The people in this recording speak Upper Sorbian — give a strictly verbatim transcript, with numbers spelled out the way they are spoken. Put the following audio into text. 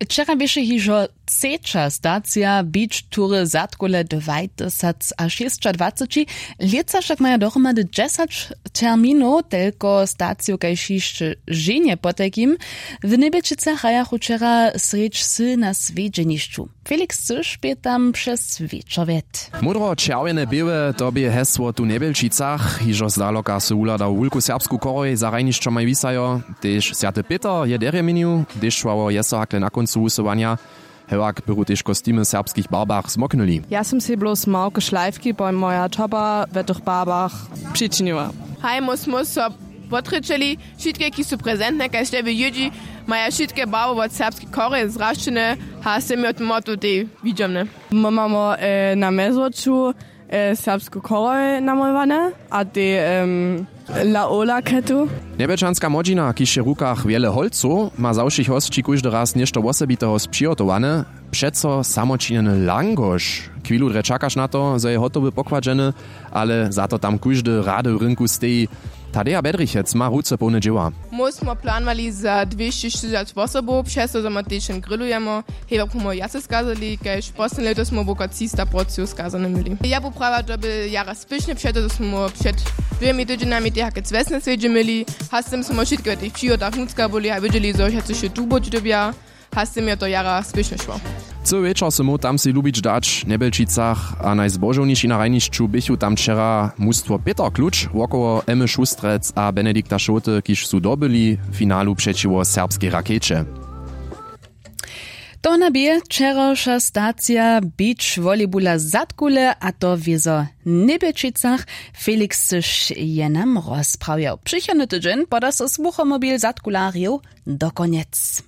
Wčera běše hižo třeća stacija beach tury zadkule dwajtysacšěsćadwaceći. Lětsa wšak maja dohromady dźesać terminow, telko staciju kaž hišće ženje potajkim. W Njebjelčicach hrajachu wčera srjedź wsy na swjedźenišću. Felix Cyš bě tam přez wječor wjet. Módro čerwjene běłe, to bě hesło tu w Njebjelčicach. Hižo zdaloka sy wuhladał wulku serbsku chorhej za hrajnišćomaj wisajo. Tež swjaty pětr je derje měnił, hdyž šłało je so hakle na kóncu wusyłanja. Hewak bychu tež kostimy w serbskich barbach zmoknyli. Ja sym sej blós małke šlajfki po moja čopa w tych barbach přičiniła. Haj, mój smóso potrječeli, wšitke kiž su prezentne kaž tebe jědźi, maja wšitke barby wot serbskej chorhej zrašćene. A sym jo motu tej widźomne. My mamy na mjezwoču serbsku chorhej namolowane a tej laola ketu. Njebjelčanska młodźina, kiž je w rukach wjele holcow, ma za wšěch hosći kóždy raz něšto wosebiteho přihotowane. Přeco samočinjeny langoš. Chwilu drje čakaš na to, zo je hotowy pokładźeny, ale za to tam kóždy rady w rynku steji. Tadeja Bedrichec ma ruce połne dźěła. Mój smo planowali za dwěsćištyricac wosobow, přez to zo my tež jen grillujemy. Hewak pomoj wjace skazali kaž poslednje lěto smo wokoło třista porcijow skazane měli. Ja bu prawa to by jara spěšnje přeto zo smo před dwěmi tydźenjami tej hakec wjesne swjedźe měli. A z tym smo wšitke w tych přihotach nutřka byli a wědźeli zo wšetcy wšě tu być dyrbja. A z tym je to jara spěšnje šło. Cyły wječor sy móhł tam sej lubić dać w Njebjelčicach a najzbožowniši na hrajnišću běchu tam wčera mustwo pětr kluč wokoło emy šustrec a benedikta šołty kiž su dobyli w finalu přećiwo serbskej rakejće. To na bě wčerawša stacija beach volleybula zadkule a to w jezo Njebjelčicach. Felix Cyš je nam rozprawjał. Přichodny tydźeń poda so słuchomobil zadkularjow do konjec.